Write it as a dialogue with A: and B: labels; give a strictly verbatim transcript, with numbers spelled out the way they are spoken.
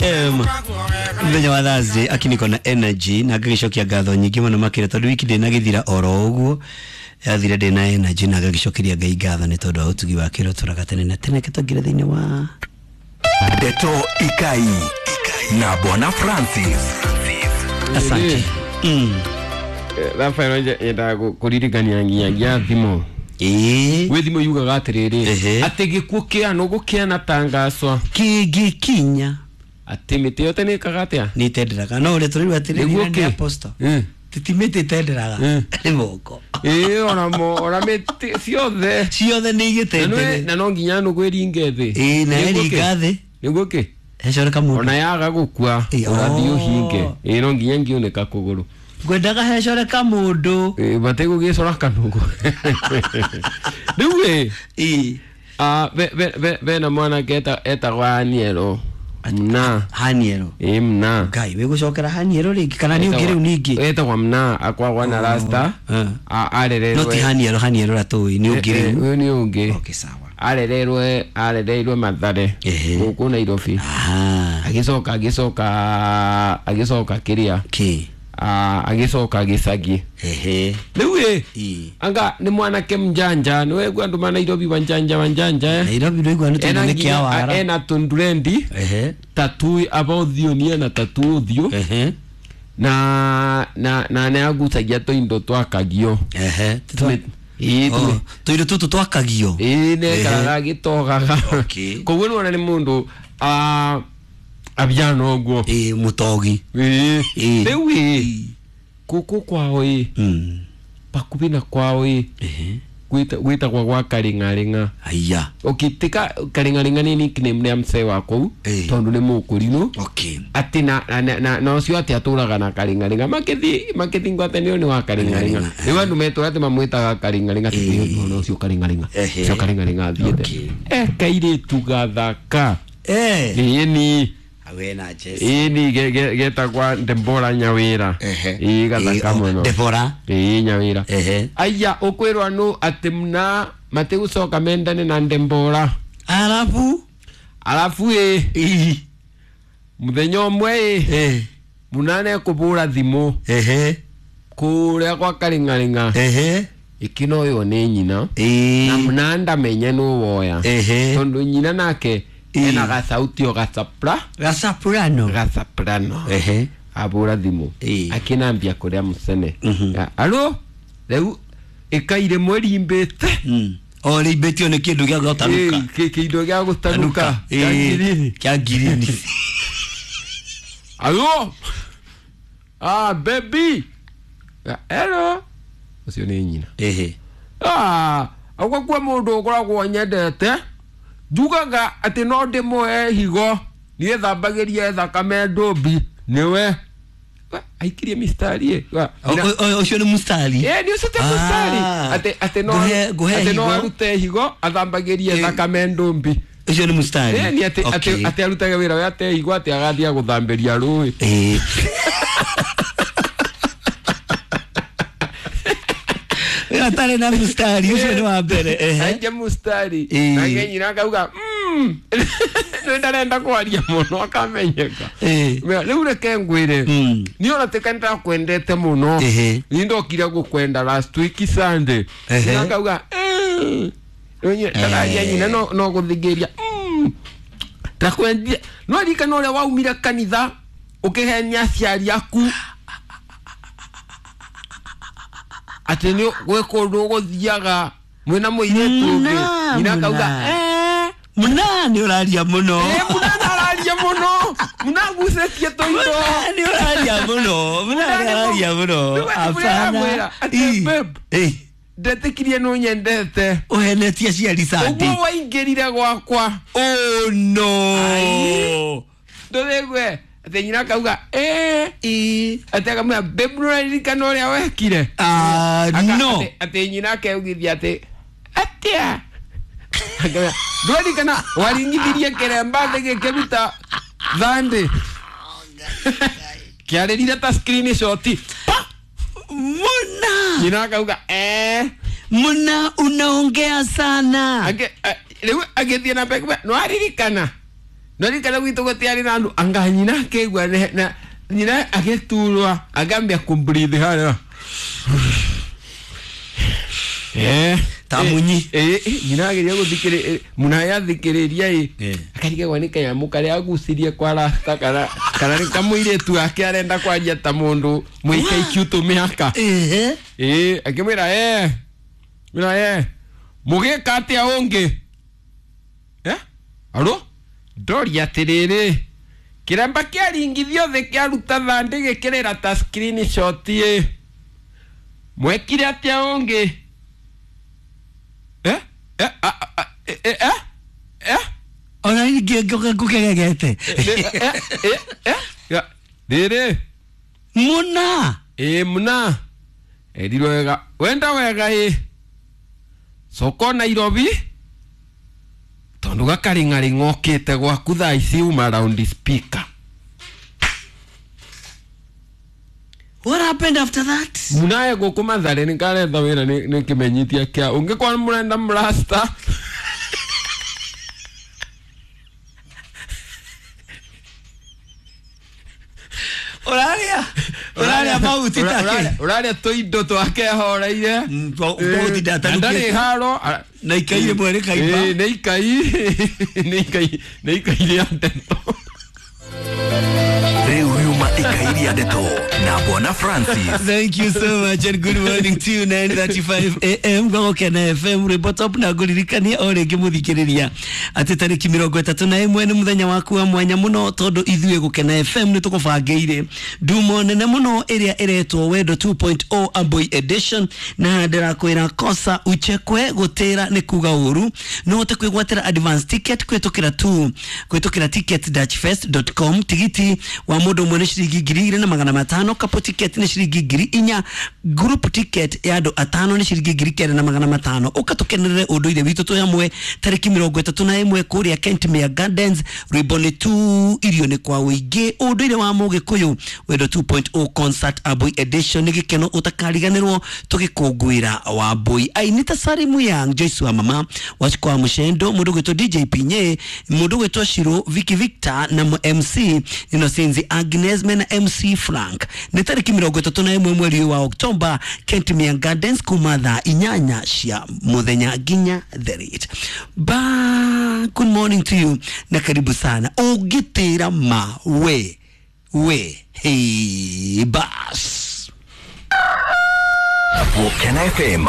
A: Em, muthenya wa Thursday akiniko na energy na ngagicokia ngatho nyingĩ mũno makĩria tondũ wiki ndĩnagĩthira oro ũguo yathire ndĩna energy na ngagicokeria Ngai ngatho nĩ tondũ wa ũtugi wake ũrĩa ũtũraga tene na tene kĩtongire thĩinĩ wa
B: Ndeto Ikai na Bwana Francis.
A: Asante. Mm.
C: Rafael nyendaga kũririkania nginyagia thimo.
A: Ĩĩ.
C: Gwĩ thimo yugaga atĩrĩrĩ
A: Ehe.
C: atĩ gĩkuũ kĩano gũkĩana tangacwa
A: kĩngĩkinya
C: atĩ mĩtĩ yothe nĩ ĩkaga atĩa
A: nĩ ĩtenderaga no ũrĩa tũrĩrwo atĩrĩrĩ
C: Nĩguo
A: nĩ
C: kĩ?
A: apostle
C: Mm.
A: titi mĩtĩ ĩtenderaga
C: Mm.
A: nĩ moko
C: ĩĩ onamo ona mĩtĩ ciothe
A: ciothe nĩ
C: Na nĩ-
A: igĩtendere
C: na no nginya nũgũ ĩringe thĩ.
A: Ĩĩ, na
C: Nĩguo kĩ?
A: ĩringa thĩ.
C: Nĩguo kĩ?
A: hecoreka mũndũ
C: Ona yaga gũkua
A: Ĩĩ,
C: ũrathiĩ
A: oh.
C: ũhinge. Ĩĩ no nginya ngĩunĩka kũgũrũ.
A: Ngwendaga hecoreka mũndũ.
C: Ĩĩ mategũgĩcora kanũgũ. Rĩu ĩ
A: Ĩĩ.
C: ah, be- be- be- bena mwanake eta- etagwo Aniero mna.
A: Haniero.
C: Ĩĩ mna.
A: Ngai wĩgũcokera Haniero rĩngĩ kana nĩ ũngĩ rĩu ningĩ?
C: Etagwo mna akwagwa na rasta.
A: Eh.
C: A- arererwe
A: No ti Haniero Haniero ũrĩa tũĩ nĩ ũngĩ
C: Eh, eh,
A: rĩu.
C: ũyũ nĩ ũngĩ.
A: Okay, sawa.
C: Arereirwe arereirwe Mathare
A: Ehe.
C: gũkũ Nairobi.
A: Ah.
C: Agĩcoka agĩcoka agĩcoka kĩrĩa
A: Kĩ?
C: Ah, agĩcoka gĩcagi.
A: Ehe.
C: Rĩu ĩ
A: Ĩĩ.
C: anga nĩ mwanake mjanja nĩ wegua andũ ma Nairobi wanjanja wanjanja eh?
A: Nairobi ndũigua nĩ tondũ
C: Ena
A: nĩ
C: nginya-
A: kĩa wara.
C: ena tũndrendi
A: Ehe.
C: tatu aba ũthiũ ni ena tatu ũthiũ
A: Ehe.
C: na na na nĩ agucagia tũindo twakagio.
A: Ehe.
C: Ĩĩ,
A: Oh,
C: tũmĩ-
A: tũindo tũtũ twakagio.
C: ĩĩ nĩekaraga agĩtogaga.
A: Okay.
C: Koguo nĩwona nĩ mũndũ ah, abiana ũguo.
A: Ĩĩ mũtogi.
C: Ĩĩ.
A: Ĩĩ.
C: Rĩu ĩ gũkũ kwao ĩ
A: Mm.
C: bakubi na kwao ĩ
A: Ehe.
C: gwĩta- gwĩtagwo gwa Karing'aring'a.
A: Aya.
C: Okay, tika Karing'aring'a nĩ nickname ya msee wa kũu
A: Ĩĩ.
C: tondũ nĩ mũkũrinũ.
A: Okay.
C: Atĩ na na na na ũcio atĩ atũraga na Karing'aring'a makĩthi makĩthi ngwatanĩro nĩ wa Karing'aring'a.
A: Karing'aring'a,
C: Rĩu andũ metũra atĩ mamwĩtaga Karing'aring'a
A: Ĩĩ.
C: atĩ ũcio Karing'aring'a
A: Ehe.
C: ũcio Karing'aring'a athiĩte.
A: Okay.
C: Eh kairĩtu gathaka.
A: Eh.
C: Ĩĩ
A: Awe na Jesse.
C: ĩni getagwa Debora Nyawĩra.
A: Ehe.
C: Ĩĩ gathaka
A: Ĩĩ, oh,
C: mũno.
A: Debora.
C: Ĩĩ Nyawĩra.
A: Ehe.
C: Aya ũkwĩrwa nũ atĩ mna matigũcoka mendane na Debora.
A: Arabu.
C: Arabu ĩ
A: Ĩĩ.
C: mũthenya ũmwe ĩ
A: Eh.
C: mũnane kũbũra thimũ
A: Ehe.
C: kũrĩa gwa Karing'aring'a
A: Ehe.
C: ĩkĩnoywo nĩ nyina na
A: Ĩĩ.
C: mũna ndamenye nũ woya
A: Ehe.
C: tondũ nyina nake
A: Ĩĩ.
C: ena gathauti o gasapra
A: Gasaprano.
C: gasaprano
A: Ehe.
C: abũra thimũ
A: Ĩĩ.
C: akĩnambia kũrĩa mũcene
A: Mhm.
C: Ya, alo rĩu ĩkaire mwerimbĩte
A: Mm. O rĩimbĩtio nĩ kĩndũ gĩa gũtanuka.
C: Ĩĩ, kĩ- kĩindo gĩa gũtanuka kĩa
A: Ĩĩ.
C: ngirini.
A: Kĩa ngirini.
C: Alo ah baby. Ya, hello ũcio nĩ nyina.
A: Ehe.
C: Ah, agwa kwa mũndũ ũkoragwo nyendete njugaga atĩ no ndĩmũhe higo niĩthambagĩrie thakame ndũmbi nĩwe. Wa, aikirie mistari ĩ. Wa,
A: O- o- o- Ũcio nĩ mustari.
C: Ĩ, nĩ ũcio ti mustari.
A: Ah.
C: Atĩ atĩ no
A: Ngũhe- ngũhe
C: atĩ no
A: higo.
C: arute higo athambagĩrie
A: Ĩ.
C: thakame ndũmbi.
A: Ũcio nĩ mustari.
C: Ĩ, nĩ atĩ atĩ
A: Okay.
C: atĩ arutage wĩra we ate higo atĩ agathiĩ gũthambĩria rũĩ.
A: Ĩĩ. Atarĩ na mustari ũcio nĩ wa mbere. Ehe.
C: Aige mustari.
A: Ĩ.
C: Nake nyina akauga mm. Nĩ ndarenda kwaria mũno akamenyeka.
A: Ĩ.
C: Mea, rĩu reke ngwĩre
A: Mm.
C: niĩ ona tika nĩndakwendete mũno
A: Ehe.
C: niĩ ndokire gũkwenda last week Sunday
A: Ehe.
C: Nyina akauga "Eh." Rĩu nyina- ndararia nyina no no gũthingĩria "Mm." Ndakwendire no ririkana ũrĩa waumire kanitha ũkĩhenia aciari aku atĩ nĩ gwĩ kũndũ ũgũthiaga mwĩna mũirĩtu ũngĩ.
A: Mna,
C: Nyina akauga
A: mna.
C: "Eh."
A: Mna nĩ ũraria mũno.
C: Eh, mũna araria mũno mũna agucĩtie tũindo.
A: Mna nĩ ũraria mũno. Mna nĩ ũraria mũno.
C: Rĩu
A: Hapana.
C: aramwĩra atĩ,
A: Ĩ.
C: "Babe,
A: Ĩ.
C: ndetĩkirie nĩ ũnyendete
A: Ũhenetie aciari Sunday.
C: ũguo waingĩrire gwakwa
A: Oh no.
C: Ai. Ndũrĩgue atĩ nyina akauga "Eh."
A: Ĩ.
C: Atĩ akamwĩra babe nĩũraririkana ũrĩa wekire
A: Ah,
C: Aka-
A: no.
C: atĩ- atĩ nyina akeugithia atĩ atĩa Akamwĩra, ndũraririkana waringithirie kĩremba thĩ gĩkĩruta thandĩ kĩarĩrire ta screenshot pa
A: Muna.
C: Nyina akauga eh.
A: Muna unaongea sana.
C: Ake- a- rĩu agĩthiĩ na mbere kuga, nĩwaririkana No rikana gwitũ gũtiarĩ na andũ anga nyina akĩigua na nyina agĩturwa agambia kũmbreathe harĩa. Eh,
A: ta munyi.
C: Eh, nyina ageria gũthikĩrĩria muna yathikĩrĩria ĩ
A: Eh.
C: akarigagwo nĩ kanyamũ karĩa agucirie kwa rasta kana kana nĩ kamũirĩtu ake arenda kwaria ta mũndũ mũikaikiu tũmĩaka.
A: Ehe.
C: Ĩ akĩmwĩra eh mwĩra eh mũgĩka atĩa ũngĩ eh aro ndoria atĩrĩrĩ kĩremba kĩaringithio thĩ kĩaruta thandĩ gĩkĩrĩra ta screenshot ĩ mwekire atĩa ũngĩ eh eh a a eh eh eh
A: Ona ingĩ ngũkegegete.
C: eh eh eh ya rĩrĩ
A: Muna.
C: ĩ muna erirwo wega wenda wega ĩ soko Nairobi tondu gakaring'aring'a okĩte gwaku thaa ici uma round speaker.
A: What happened after that?
C: Munaye gũkũ Mathare nĩ karetha wĩra nĩ nĩ kĩmenyithia kĩa ũngĩkorwo mũrenda mrasta.
A: Ũraria ũraria mahuti take.
C: Ũraria tũindo twake ahoreire.
A: Mm, twa- twa gũtinda
C: Na ndarĩ
A: atarukĩte.
C: haro
A: Na ikai rĩmwe rĩkaimba.
C: Ĩ, nĩ ikai nĩ ikai nĩ ikai rĩa ndeto.
B: Rĩu riuma ikai rĩa ndeto na Bwana Francis.
A: Thank you so much and good morning to you. nine thirty-five A M Gogokena F M rwĩmbo top na ngũririkania o rĩngĩ mũthikĩrĩria atĩ tarĩki mĩrongo ĩtatũ na ĩmwe nĩ mũthenya waku wa mwanya mũno tondũ ithuĩ Gũkena F M nĩ tũkũbangĩire ndumo nene mũno ĩrĩa ĩretwo Wendo two point oh Amboi Edition na ndĩrakwĩra kosa uchekwe gũtĩra nĩ kuga ũru no ũhote kwĩgwatĩra advance ticket kwĩtũkĩra tu kwĩtũkĩra ticket dash fest dot com tigiti wa mũndũ ũmwe nĩ ciringi ngiri igĩrĩ na magana matano couple ticket nĩ ciringi ngiri inya group ticket ya andũ atano nĩ ciringi ngiri kenda na magana matano ũka tũkenerere ũndũire witũ twĩ hamwe tarĩki mĩrongo ĩtatũ na ĩmwe kũrĩa Kentmere Gardens rwĩmbo nĩ tu irio nĩ kwa ũingĩ ũndũire wa mũgĩkũyũ Wendo two point oh concert Amboi Edition nĩ gĩkeno ũtakariganĩrwo tũgĩkũngũĩra Wambui aini ta Salimu Yang Joyce wa mama Wachiko wa Mũcendo mũndũ gwĩtwo D J Pinye mũndũ gwĩtwo Shiro Vicky Victor na M C Innocence Agnes mena M C Frank nĩ tarĩki mĩrongo ĩtatũ na ĩmwe mweri wa Oktoba Kentmere Gardens kuma thaa inyanya cia mũthenya nginya the ba good morning to you na karibu sana ũngĩtĩra ma we we hey bas
B: Gũkena F M.